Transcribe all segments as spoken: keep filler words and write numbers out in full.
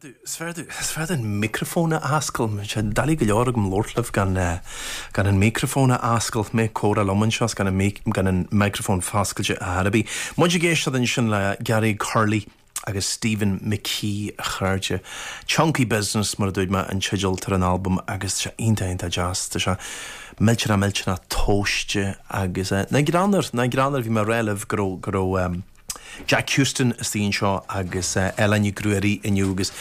Is fearr an micreafón a oscailt, sé doiligh go leor agam labhairt libh gan gan an micreafón a oscailt mé comhrá liom anseo gan gan an micreafón foscailte ar bith. Muid ag éisteacht ansin le Gary Curley agus Stephen McKee a chairde. Chunky Business mar a dúirt mé an teideal ar an albam agus sé iontach iontach deas Tá sé millteanach millteanach tomhaiste agus na greannar na greannar bhí mé réileh go go um, Jack Houston istigh anseo agus uh, Ellen Ní Ghruairí inniu agus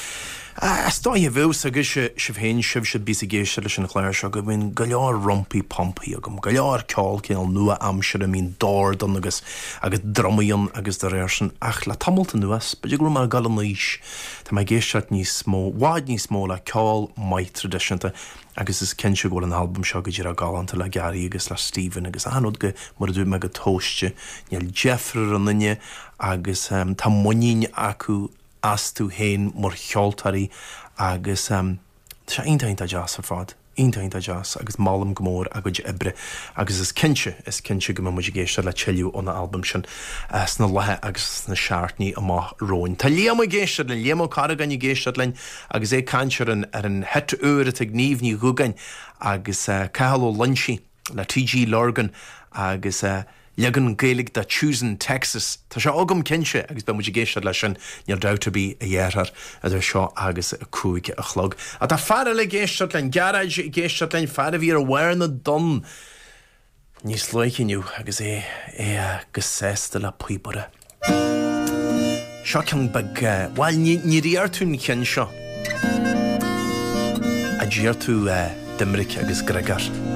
Is dóigh bh agus sibh féin sibh si bí géiste leis an chléir seo go bhíonn go leor rumpaí pompaí agam, go leor ceol cineál nua-aimseartha mín dordán agus agus drumaí agus de réir sin ach le tamalt anuas, B'fhéidir go mar gal anois Tá mé ag éisteacht níos mó bhfad níos mó le ceol maith traidisiúnta agus is cinnte go bhfuil an albam seo go dtí galánta le Gary agus le Stephen agus an go mar a dúirt mé go tomhaiste níl deifir ar an duine agus um, tá muinín acu astu féin mar cheoltóirí agus um, sé iontach iontach deas ar fad. Iontach iontach deas agus molaim go mór a gcuid oibre agus is cinnte is cinnte go mbeidh muid ag éisteacht le tuilleadh ón albam sin uh, sna laetha agus sna seachtainí amach romhainn. Tá Liam ag éisteacht linn Liam Ó Carragáin ag éisteacht linn agus é ag caint ar an ar an hit úr atá ag Niamh Ní Dhúgáin agus uh, Cathal Ó Loinsigh le TG Lurgan agus uh, leagan Gaeilge de Choosing Texas. Tá sé agam cinnte agus beidh muid ag éisteacht leis sin níl dabht ar bith a dheartháir idir seo agus a cúig a chlog. A tá fear le géisteart len Gearáid ag éisteacht linn fear a bhí ar bharr na dtonn níos luaithe inniu agus é é go sásta le píobaire. Seo ceann beag bhuel ní iarr tú an ceann seo. A d'iarr tú Doiminic agus Griogair.